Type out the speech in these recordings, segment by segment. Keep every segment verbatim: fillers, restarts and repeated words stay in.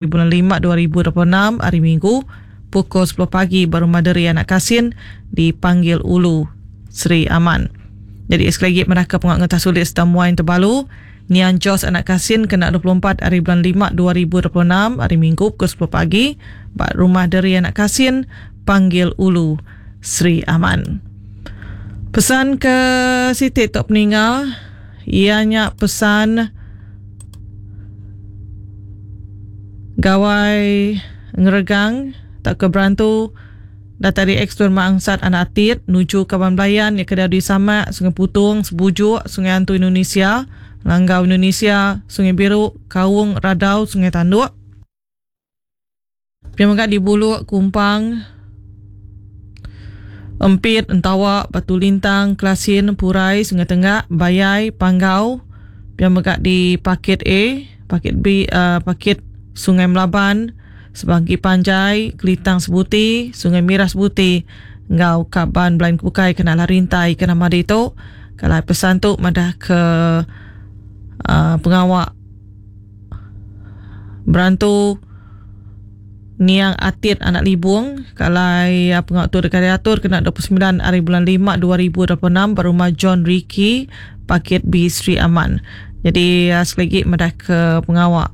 bulan lima dua ribu dua puluh enam hari Minggu pukul sepuluh pagi ba Rumah Deri Anak Kasin dipanggil Ulu Sri Aman. Jadi sekali lagi mereka pengak ngetah sulit serta muain terbalu Nian Jos Anak Kasin kena dua puluh empat hari bulan lima dua ribu dua puluh enam hari Minggu pukul sepuluh pagi ba Rumah Deri Anak Kasin panggil Ulu Sri Aman. Pesan ke Siti Tok Peninga ianya pesan gawai ngeregang tak ke berantu datai di Ekstun Mangsat Anak Atit nuju Kaban Belayan yang kedai di Samak, Sungai Putung, Sebujuk, Sungai Antu Indonesia, Langgau Indonesia, Sungai Biru, Kaung, Radau, Sungai Tanduk. Pia mega di Buluk, Kumpang, Empit, Entawa, Batu Lintang, Kelasin, Purai, Sungai Tenggak, Bayai, Panggau. Pia mega di Paket A, Paket B, uh, Paket Sungai Melaban, Sebangki Panjai, Kelitang Sebuti, Sungai Mirah Sebuti, ngau Kaban Belain Kukai kena rintai kena madi tu. Kalau pesan tu madah ke uh, pengawak berantu Niang Atit Anak Libung. Kalau uh, pengawak tu dekat diatur kena dua puluh sembilan hari bulan lima dua ribu dua puluh enam berumah John Ricky, Paket B Sri Aman. Jadi uh, sekali lagi madah ke pengawak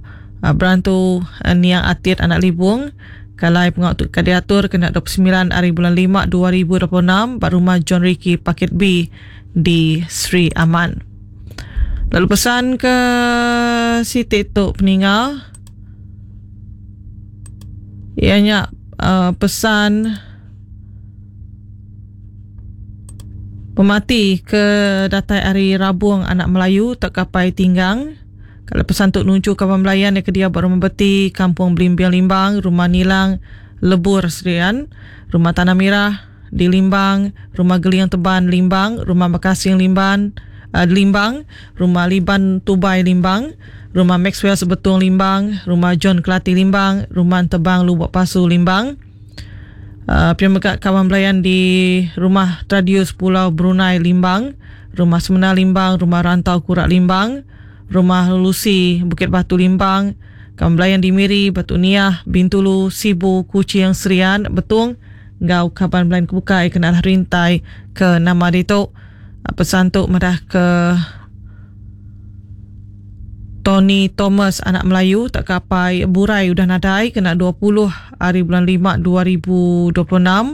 berantu Niang Atit Anak Libung. Kalau pengawak tu diatur kena dua puluh sembilan hari bulan lima dua ribu dua puluh enam pada rumah John Ricky Paket B di Sri Aman. Lalu pesan ke Siti Tok Peninga ianya uh, pesan pemati ke datai hari Rabung Anak Melayu tak kapai tinggang. Kalau pesan untuk nuju kawan Melayan yang kedia buat rumah beti, Kampung Belimbing Limbang, Rumah Nilang, Lebur Serian, Rumah Tanah Merah di Limbang, Rumah Geliang Teban Limbang, Rumah Makasing Limbang, uh, Limbang, Rumah Liban Tubai Limbang, Rumah Maxwell Sebetung Limbang, Rumah John Kelati Limbang, Rumah Tebang Lubuk Pasu Limbang. Uh, Pihak kawan Melayan di Rumah Tradius Pulau Brunei Limbang, Rumah Semena Limbang, Rumah Rantau Kurak Limbang, Rumah Lucy Bukit Batu Limbang, Kawan Belayan di Miri, Batu Niah, Bintulu, Sibu, Kuching, Serian, Betung, ngau kaban Belayan Kebukai kena rintai ke nama ditu. Pesan tu madah ke Tony Thomas Anak Melayu tak kapai Burai udah nadai kena dua puluh hari bulan lima dua ribu dua puluh enam.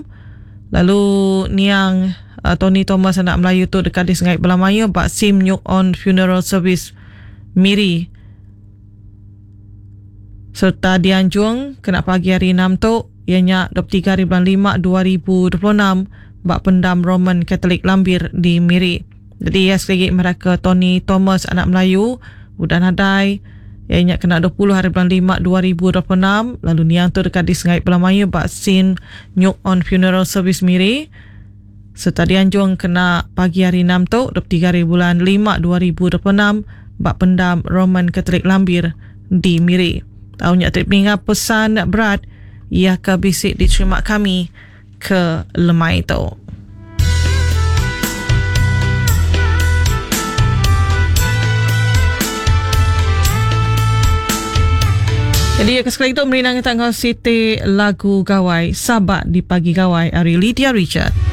Lalu niang uh, Tony Thomas Anak Melayu tu dekat di Sungai Belamaya bak Sim Nyuk On Funeral Service Miri serta dianjung kena pagi hari enam tu ianya dua puluh tiga hari bulan lima dua ribu dua puluh enam bak pendam Roman Katolik Lambir di Miri. Jadi ya sekali lagi mereka Tony Thomas Anak Melayu udah nadai ianya kena dua puluh hari bulan lima dua ribu dua puluh enam. Lalu niang tu dekat di Sungai Belamaya bak Sin Nyuk On Funeral Service Miri serta dianjung kena pagi hari enam tu dua puluh tiga hari bulan lima dua ribu dua puluh enam bak pendam Roman Katolik Lambir di Miri. Tahunnya trip minggu pesan berat ia ke bisik diterima kami ke lemai tu. Jadi sekali itu merinang kita ngau Siti lagu Gawai Sabak di Pagi Gawai ari Lydia Richard.